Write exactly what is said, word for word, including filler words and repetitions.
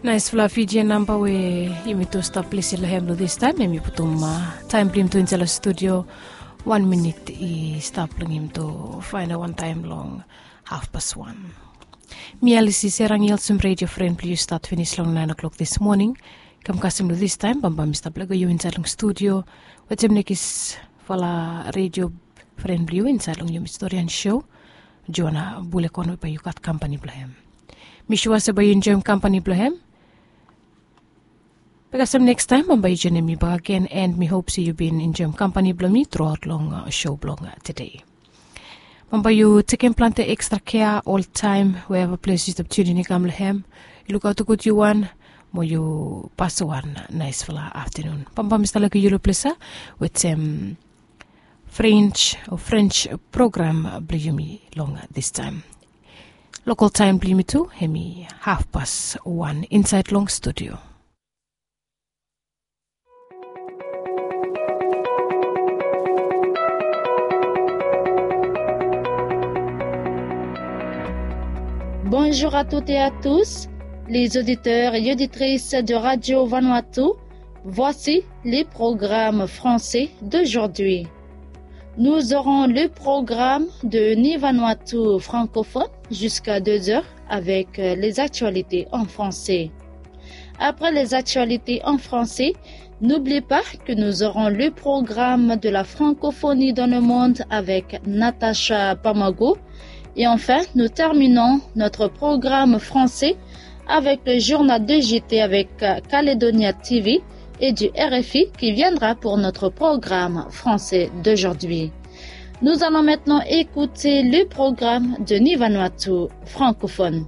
Naisfala Fijian namba we yumi tu stap lisin long hem long distaem, em i putum taem blong yumi tu insaed long studio. Wan minit i stap long yumi tu faenem wantaem long hafpas wan. Mi Alisi Serang i olsem redio fren blong yu stat finis long naen o'klok dis moning. Kam kasem long distaem bambae mi stap lego yu insaed long studio wetem nekisfala redio fren blong yu insaed long yumi storian sho. Joana Bulekon we bae yu gat kampani blong hem. Mi sua se bae yu enjoem kampani blong hem. Be kasem nekstaem bambae yu joenem mi bakegen, and mi hop se yu bin enjoem kampani blong mi truaot long sho blong tede. Bambae yu tekem plante ekstra kea oltaem weeva ples yu stap tunin i kam long hem. Yu lukaot gud yu wan, mo yu pasem wan naesfala aftanun. Bambae mi stap lego yu long ples ya wetem French o French program blong yumi long distaem. Lokal taem blong yumi tu hem i hafpas wan insaed long studio. Bonjour à toutes et à tous, les auditeurs et auditrices de Radio Vanuatu. Voici les programmes français d'aujourd'hui. Nous aurons le programme de Ni Vanuatu francophone jusqu'à deux heures avec euh, les actualités en français. Après les actualités en français, n'oublie pas que nous aurons le programme de la francophonie dans le monde avec Natacha Pamago. Et enfin, nous terminons notre programme français avec le journal de J T avec euh, Calédonia T V et du R F I qui viendra pour notre programme français d'aujourd'hui. Nous allons maintenant écouter le programme de Ni Vanuatu francophone.